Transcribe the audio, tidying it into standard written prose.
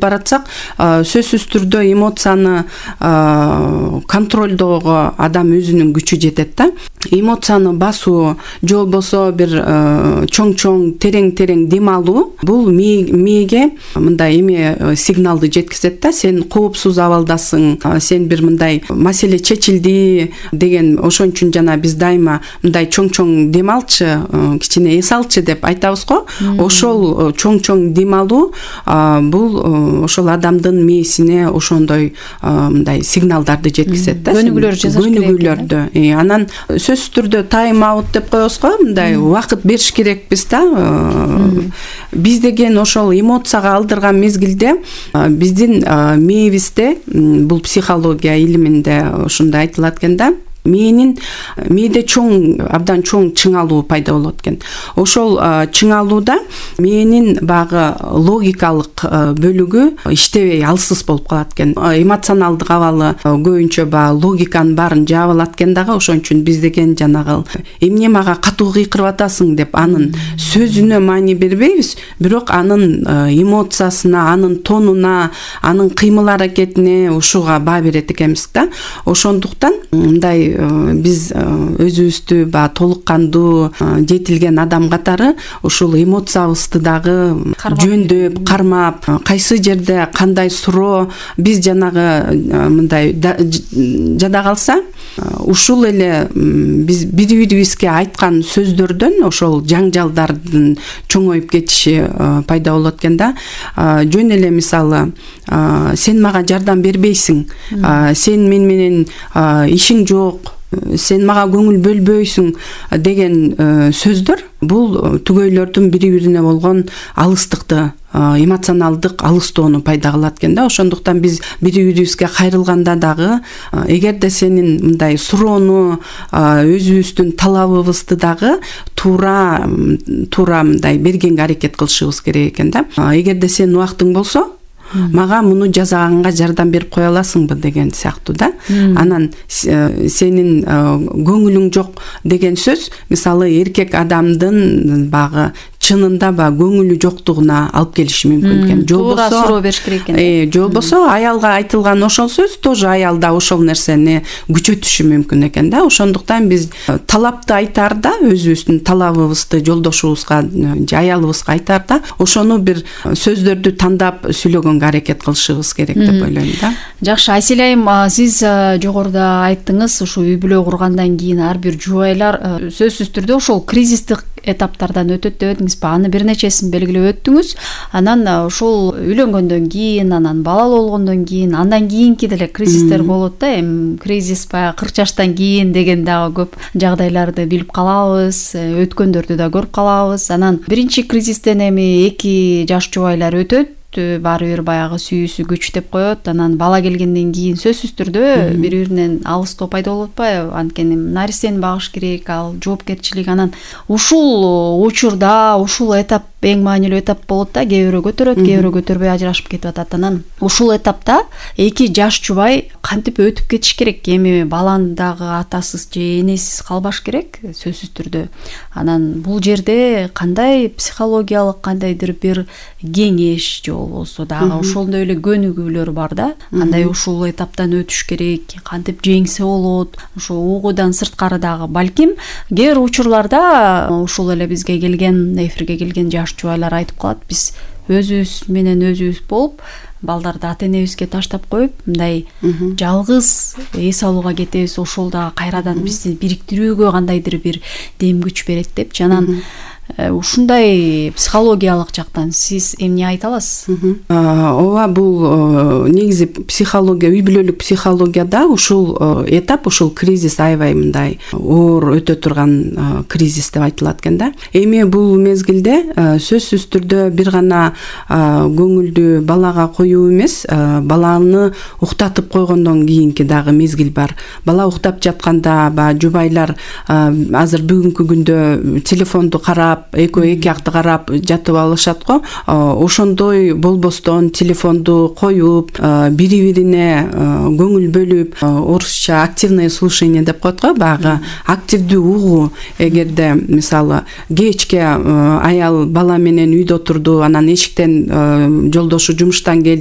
кетип баратсак, сөзсүз түрдө эмоцияны контролдоого адам өзүнүн күчү жетет да. Эмоцияны басуу же болбосо бир чоң терең дем алуу бул мээге мындай эме сигналды жеткизет да. Сен коопсуз абалдасың, сен бир мындай маселе чечилди деген, ошон үчүн жана биз дайыма мындай чоң дем алчы, кичине эс алчы деп айтабыз го. Ошол чоң дем алуу бул ошол адамдын мээсине ошондой мындай сигналдарды жеткизет да. Көнүгүүлөр жасаш керек. Көнүгүүлөрдү. Анан сөзсүз түрдө тайм аут деп коебуз го, мындай убакыт бериш керекпиз да. Биз деген ошол эмоцияга алдырган мезгилде биздин мээбизде, бул психология илиминде ушундай айтылат экен да, мээде абдан чоң чыңалуу пайда болот экен. Ошол чыңалууда мээнин багы логикалык бөлүгү иштебей алсыз болуп калат экен. Эмоционалдык абалы көбүнчө логиканын баарын жаап алат экен дагы. Ошон үчүн биз деген жанагы эмне мага катуу кыйкырып атасың деп анын сөзүнө маани бербейбиз, бирок анын эмоциясына, анын тонуна, анын кыймыл аракетине ушуга баа берет экенбиз да. Ошондуктан мындай биз өзүбүздү толук кандуу жетилген адам катары ушул эмоциябызды дагы жөндөп, кармап, кайсы жерде кандай суроо биз жанагы мындай жада калса, ушул эле биз бири-бирибизге айткан сөздөрдөн ошол жаңжалдардын чоңоюп кетиши пайда болот экен да. Жөн эле мисалы, сен мага жардам бербейсиң, сен мен менен ишиң жок, сен мага көңүл бөлбөйсүң деген сөздөр бул түгөйлөрдүн бири-бирине болгон алыстыкты, эмоционалдык алыстоону пайда кылат экен да. Ошондуктан биз бири-бирибизге кайрылганда дагы, эгерде сенин мындай суроону, өзүбүздүн талабыбызды дагы туура мындай бергенге аракет кылышыбыз керек экен да. Эгерде сенин убактың болсо, мага муну жасаганга жардам берип кое аласыңбы деген сыяктуу да. Анан сенин көңүлүң жок деген сөз, мисалы, эркек адамдын багы чынында көңүлү жоктугуна алып келиши мүмкүн экен. Туура суроо бериш керек экен. Же болбосо аялга айтылган ошол сөз тоже аялда ошол нерсени күчөтүшү мүмкүн экен да. Ошондуктан биз талапты айтаарда, өзүбүздүн талабыбызды жолдошубузга же аялыбызга айтаарда ошону бир сөздөрдү тандап сүйлөгөнгө аракет кылышыбыз керек деп ойлойм да. Жакшы, Айсель айым, сиз жогоруда айттыңыз, ушу үй бүлө кургандан кийин ар бир жубайлар сөзсүз түрдө ошол кризистик этаптардан өтөт деп этиңизби? Аны бир нечесин белгилеп өттүңүз. Анан ушул үйлөнгөндөн кийин, анан балалуу болгондон кийин, андан кийинки деле кризистер болот да. Кризис 40 жаштан кийин деген дагы көп жагдайларды билип калабыз, өткөндөрдү да көрүп калабыз. Анан биринчи кризистен эми 2 жаш жубайлар өтөт, баары бир баягы сүйүүсү күчтөп коет. Анан бала келгенден кийин сөзсүз түрдө бири-биринен алыстоо пайда болуп атпайбы? Анткени нарсени багыш керек, ал жоопкерчилик. Анан ушул учурда, ушул этап эң маанилүү этап болот да. Кээ бирөө көтөрөт, кээ бирөө көтөрбөй ажырашып кетип атат. Анан ушул этапта 2 жаш жубай кантип өтүп кетиш керек? Эми баланы дагы атасыз же энесиз калбаш керек, сөзсүз түрдө. Анан бул жерде кандай психологиялык, кандайдыр бир кеңеш же болбосо дагы ошондой эле көнүгүүлөр бар да. Кандай ушул этаптан өтүш керек, кантип жеңсе болот, ошо угуудан сырткары дагы балким кээ бир учурларда ушул эле бизге келген, эфирге келген жаш жубайлар айтып калат, биз өзүбүз менен өзүбүз болуп, балдарды ата-энебизге таштап коюп, мындай жалгыз эс алууга кетебиз, ошол дагы кайрадан бизди бириктирүүгө кандайдыр бир дем күч берет деп. Жанан ушундай психологиялык жактан сиз эмне айта аласыз? Ооба, бул негизи психология, үй бүлөлүк психологияда ушул этап, ушул кризис аябай мындай оор өтө турган кризис деп айтылат экен да. Эми бул мезгилде сөзсүз түрдө бир гана көңүлдү балага коюу эмес, баланы уктатып койгондон кийинки дагы мезгил бар. Бала уктап жатканда жубайлар азыр бүгүнкү күндө телефонду карап, эки жакты карап жатып алышат го. Ошондой болбостон телефонду коюп, бири-бирине көңүл бөлүп, орусча активное слушание деп коет го, багы активдүү угуу. Эгерде мисалы кечке аял бала менен үйдө отурду, анан эшиктен жолдошу жумуштан келди,